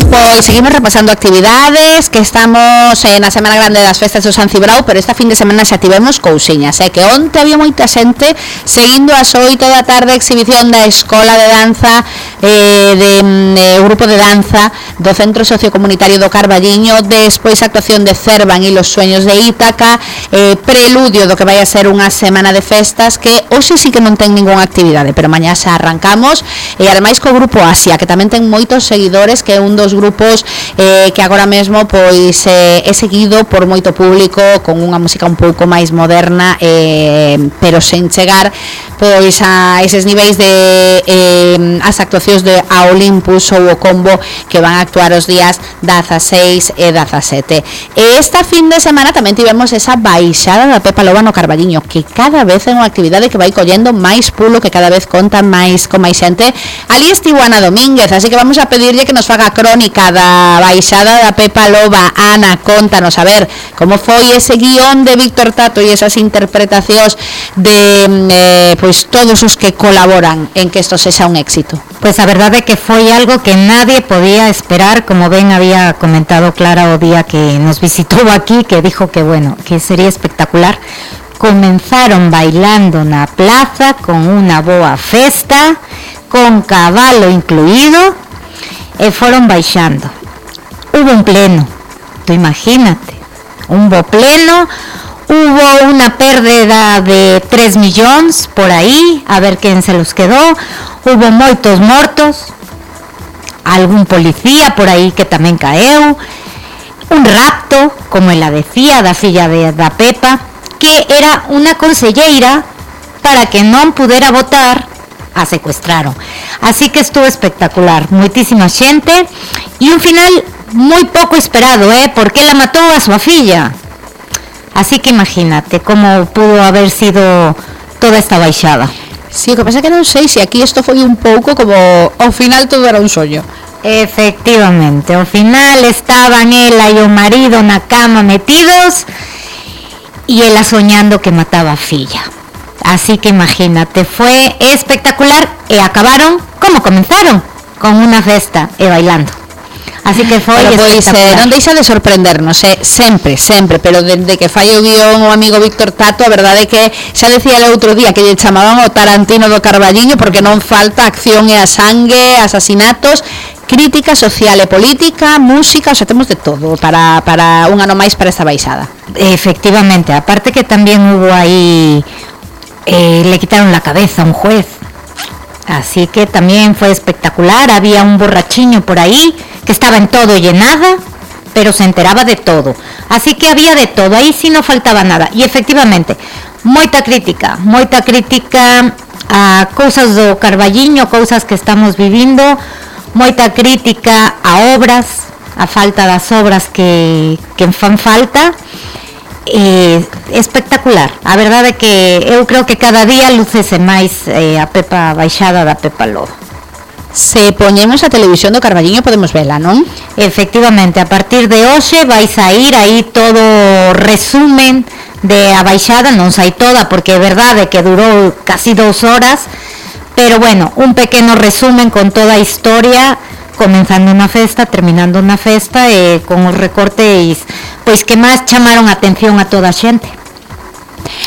Pois seguimos repasando actividades, que estamos na Semana Grande das Festas do San Cibrao, pero esta fin de semana xa tivemos cousiñas, que onte había moita xente seguindo ás 8 da tarde a exhibición da Escola de Danza grupo de danza do Centro Sociocomunitario do Carballiño, despois a actuación de Cervan e los sueños de Ítaca, preludio do que vai a ser unha semana de festas que hoxe sí que non ten ningunha actividade, pero mañá xa arrancamos, e ademais co grupo Asia, que tamén ten moitos seguidores, que é un dos grupos que agora mesmo pois é seguido por moito público, con unha música un pouco máis moderna, pero sen chegar pois a eses niveis de as actuacións de A Olympus ou o Combo, que van a actuar os días 16 e 17. E esta fin de semana tamén tivemos esa baixada da Pepa Loba no Carballiño, que cada vez é unha actividade que vai collendo máis pulo, que cada vez conta máis con máis xente. Ali estivo Ana Domínguez, así que vamos a pedirlle que nos faga crónica da baixada da Pepa Loba. Ana, contanos, a ver, como foi ese guión de Víctor Tato e esas interpretacións de pois todos os que colaboran en que isto sexa un éxito. Pues a verdade é que foi algo que nadie podía esperar, como ben había comentado Clara o día que nos visitou aquí, que dijo que bueno, que sería espectacular. Comenzaron bailando na plaza con unha boa festa, con cabalo incluído, e foron baixando. Hubo un pleno, tú imagínate, un bo pleno, hubo una pérdida de 3 millóns por aí, a ver quen se los quedó, hubo moitos mortos, algún policía por aí que tamén caeu, un rapto, como ela decía, da filla da Pepa, que era unha conselleira para que non pudera votar, a secuestraron. Así que estuvo espectacular, moitísima xente, e un final moi pouco esperado, porque ela matou a súa filla. Así que imagínate como pudo haber sido toda esta baixada. Sí, o que pasa que non sei se aquí isto foi un pouco como ao final todo era un soño. Efectivamente, ao final estaban ela e o marido na cama metidos e ela soñando que mataba a filla. Así que imagínate, fue espectacular e acabaron como comenzaron, con unha festa e bailando. Así que foi espectacular. Non deixa de sorprendernos, sempre, pero dende que fai o guión o amigo Víctor Tato, a verdade é que xa decía el outro día que lle chamaban o Tarantino do Carballiño, porque non falta acción e a sangue, asasinatos, crítica social e política, música, o sea, temos de todo para un ano máis para esta baixada. Efectivamente, aparte que tamén hubo aí, le quitaron la cabeza a un juez, así que también fue espectacular. Había un borrachiño por ahí que estaba en todo y en nada, pero se enteraba de todo, así que había de todo, aí sí no faltaba nada. E efectivamente, moita crítica a cousas do Carballiño, cousas que estamos vivindo, moita crítica a obras, a falta das obras que fan falta. Espectacular, a verdade é que eu creo que cada día lucese máis a Pepa baixada da Pepa Loba. Se poñemos a televisión do Carballiño podemos vela, non? Efectivamente, a partir de hoxe vai sair aí todo resumen de a baixada, non sai toda porque é verdade que durou casi 2 horas, pero bueno, un pequeno resumen con toda a historia, comenzando unha festa, terminando unha festa, e con os recortes pois que máis chamaron a atención a toda a xente.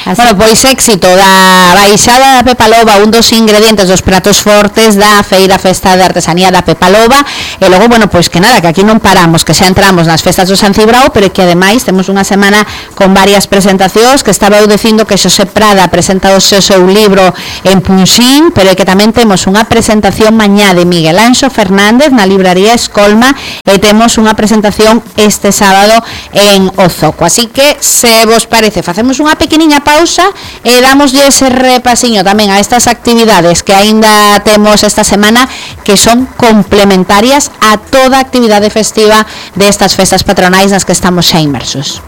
Así. Bueno, pois éxito da baixada da Pepa Loba, un dos ingredientes dos pratos fortes da Feira Festa de Artesanía da Pepa Loba. E logo, bueno, pois que nada, que aquí non paramos, que xa entramos nas festas do San Cibrao, pero que ademais temos unha semana con varias presentacións, que estaba eu dicindo que Xosé Prada presenta o seu libro en Punxín, pero que tamén temos unha presentación mañá de Miguel Anxo Fernández na libraría Escolma, e temos unha presentación este sábado en Ozoco. Así que, se vos parece, facemos unha pequeniña pausa e damoslle ese repasiño tamén a estas actividades que aínda temos esta semana, que son complementarias a toda a actividade festiva destas festas patronais nas que estamos xa inmersos.